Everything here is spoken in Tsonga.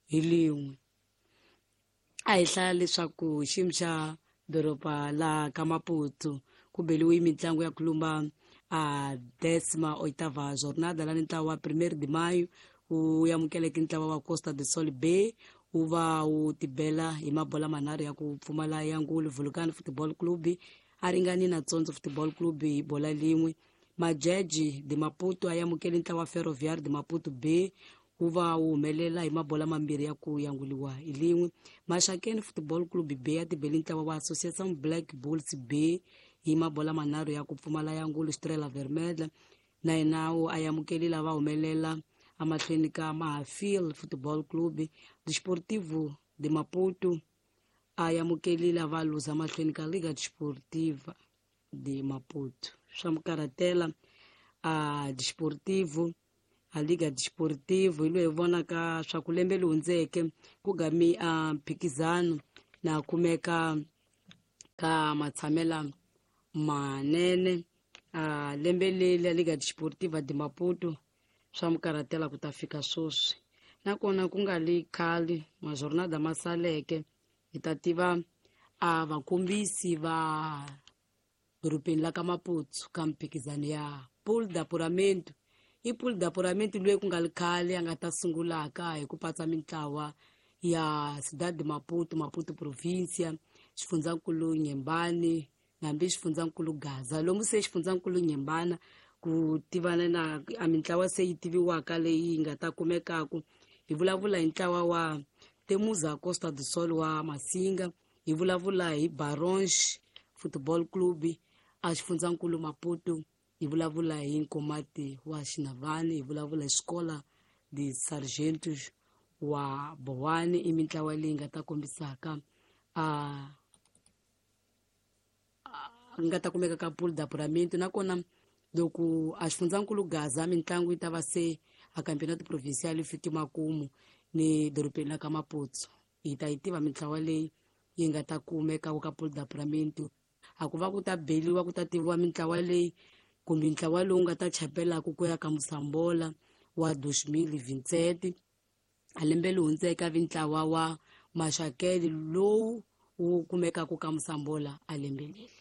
hi lin'we. A hi hlaya leswaku xiyimo xa doroba la ka Maputo ku beliwe mitlangu ya kulumba a décima oitava jornada la ni ntlawa wa 1 de Maio wu amukeleke ntlawa wa Costa do Sol B wu va wu tibela hi mabola manharhu ya ku pfumala ya ngulu. Vulcan Football Club a ringani na Tsonzo Football Club hi bola lin'we. Majeji de Maputo a amukele ntlawa wa Ferroviário de Maputo B wu va wu humelela hi mabola mambirhi ya ku yanguliwa hi lin'we. Maxakeni Football Club B ya tibeli ntlawa wa Associação Black Bulls B hi mabola manharhu ya ku pfumala ya ngulu. Estrela Vermelha na yena wu a amukeli lava humelela amahlweni ka Mahafil Football Club. Desportivo de Maputo a amukeli lava luza mahlweni ka Liga Desportiva de Maputo. Swa mukarhatela a Desportivo, a Liga Desportivo hi loyi hi vonaka swa ku lembe leri hundzeke ku gami a mphikizano na kumeka ka matshamela manene a lembe leri la Liga Desportiva de Maputo swa mukarhatela ku ta fika sweswi. Nakona ku nga li khale majornada ma saleke hi ta tiva a vakombisi va dorobeni la ka Maputo ka mphikizano ya Pool d'Apuramento. I Pool d'Apuramento loyi ku nga li khale a nga ta sungulaka hi ku patsa mintlawa ya Cidade de Maputo, Maputo Provincia, xifundzankulu Nyembani hambi xifundzankulu Gaza. Lomu se xifundzankulu Nyembana ku tivana na a mintlawa se yi tiviwaka leyi yi nga ta kumekaku. Hi vulavula hi ntlawa wa Temuza Costa do Sol wa Masinga, hi vulavula hi Baronge Football Club a xifundzankulu Maputo, hi vulavula hi Nkomati wa Xinavani, hi vulavula hi Escola de Sargentos wa Bowani. I mintlawa leyi nga ta kombisaka a nga ta kumeka ka Pool d'Apuramento. Nakona loko a xifundzankulu Gaza mitlangu yi ta va se a Campeonato Provincial yi fiki makumu ni dorobeni la ka Maputo hi ta yi tiva mintlawa leyi yi nga ta kumeka ka Pool d'Apuramento. A ku va ku ta beliwa ku ta tiviwa mintlawa leyi kumbe ntlawa lowu nga ta chapelaka ku ya ka Musambola wa 2027. A lembe leri hundzeke a vi ntlawa wa Maxakele lowu wu kumekaka ka Musambola a lembe leri.